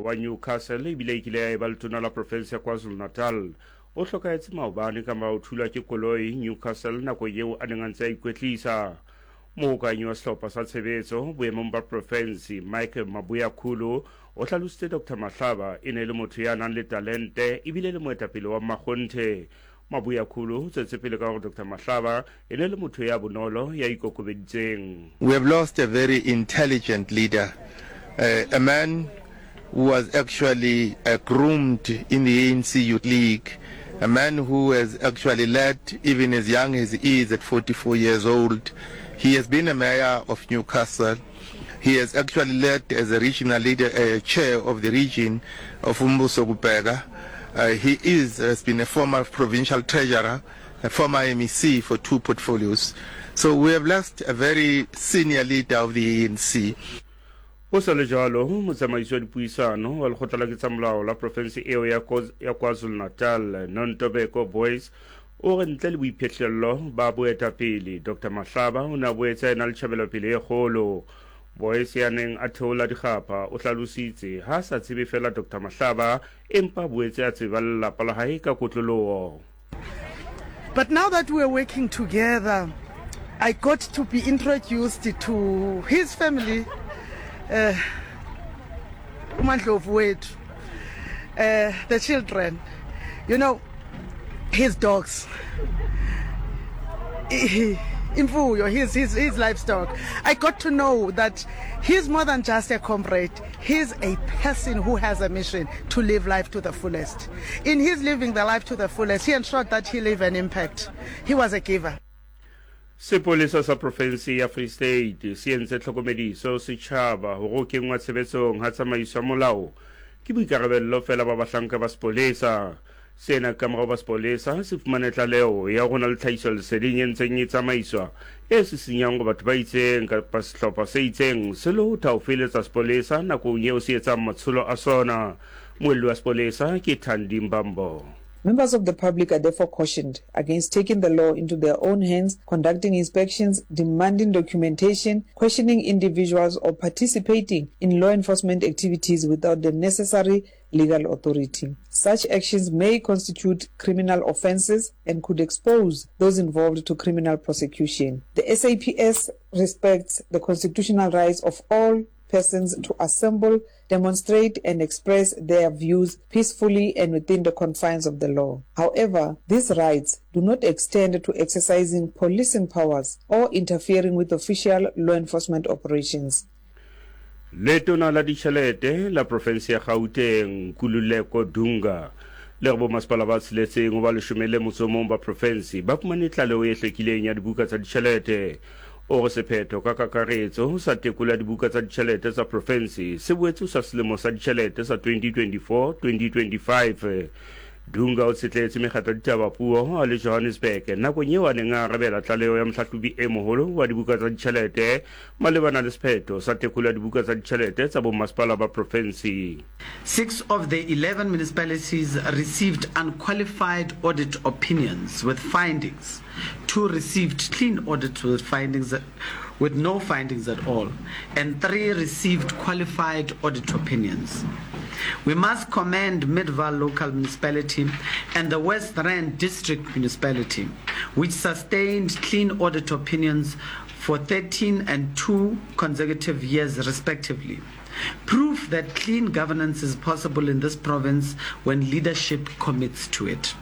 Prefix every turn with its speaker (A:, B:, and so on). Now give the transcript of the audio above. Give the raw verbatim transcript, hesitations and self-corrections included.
A: wa Newcastle ebile e kile ya eba letona la profense ya KwaZulu-Natal o hlokahetse maobane ka mora ho thulwa ke koloi Newcastle nakong eo a neng a ntse a ikwetlisa. Mohokahanyi wa sehlopha sa tshebetso boemong ba profense Mike Mabuyakhulu o hlalositse Doctor Mahlaba e ne e le motho ya nang le talente ebile le moetapele wa mmakgonthe. Mabuyakhulu o tswetse pele ka hore Doctor Mahlaba e ne le motho ya bonolo ya ikokobeditseng.
B: We have lost a very intelligent leader, uh, a man who was actually, uh, groomed in the A N C Youth League, a man who has actually led even as young as he is at forty-four years old. He has been a mayor of Newcastle. He has actually led as a regional leader, uh, chair of the region of Umbuso Kubheka. Uh, he is, has been a former provincial treasurer, a former M E C for two portfolios. So we have lost a very senior leader of the A N C.
A: Ho sa le jwalo, motsamaisi wa dipuisano wa lekgotla la ketsamolao la profense eo ya Koz-, ya KwaZulu-Natal, Nontobeko Boyce, o re ntle le boiphihlello ba boetapele, Doctor Mahlaba o ne a boetse a ena le tjhebelopele e kgolo. Boyce ya neng a theola dikgapha o hlalositse ha a sa tsebe feela Doctor Mahlaba empa a boetse a tseba lelapa la hae ka kotloloho.
C: But now that we're working together, I got to be introduced to his family, uh, uMandlovu wethu, uh, the children, you know, his dogs, imfuyo, his, his, his livestock. I got to know that he's more than just a comrade. He's a person who has a mission to live life to the fullest. In his living the life to the fullest, he ensured that he leave an impact. He was a giver.
A: Sepolesa sa profense ya Free State se entse tlhokomediso setjhaba hore ho kenngwa tshebetsong ha tsamaiso ya molao ke boikarabello feela ba bahlanka ba sepolesa. Sena ka morao ba sepolesa se fumane tlaleho ya hore ho na le tlhahisoleseding e ntseng e tsamaiswa e sisinyang hore batho ba itseng kapa sehlopha se itseng se lotha ho feletsa sepolesa nakong eo se etsang matsholo a sona. Moelli wa sepolesa ke Thandi Mbambo.
D: Members of the public are therefore cautioned against taking the law into their own hands, conducting inspections, demanding documentation, questioning individuals, or participating in law enforcement activities without the necessary legal authority. Such actions may constitute criminal offenses and could expose those involved to criminal prosecution. The S A P S respects the constitutional rights of all persons to assemble, demonstrate, and express their views peacefully and within the confines of the law. However, these rights do not extend to exercising policing powers or interfering with official law enforcement operations.
A: Letona la ditjhelete la profense ya Gauteng, Nkululeko Dunga, le re bomasepala ba tsheletseng ho ba leshome le motso o mong ba profense ba fumane tlaleho e hlwekileng ya dibuka tsa ditjhelete. O re sephetho ka kakaretso sa tekolo ya dibuka tsa ditjhelete tsa profense se boetse sa selemo sa ditjhelete sa twenty twenty-four twenty twenty-five. Dunga o tshetletse mekgatlo ya ditaba puo a le Johannesburg nakong eo a neng a arabela tlaleho ya mohlahlobi e moholo wa dibuka tsa ditjhelete malebana le sephetho sa tekolo ya dibuka tsa ditjhelete tsa bomasepala ba profense.
E: Six of the eleven municipalities received unqualified audit opinions with findings. Two received clean audits with findings with no findings at all, and three received qualified audit opinions. We must commend Midvaal Local Municipality and the West Rand District Municipality, which sustained clean audit opinions for thirteen and two consecutive years respectively. Proof that clean governance is possible in this province when leadership commits to it.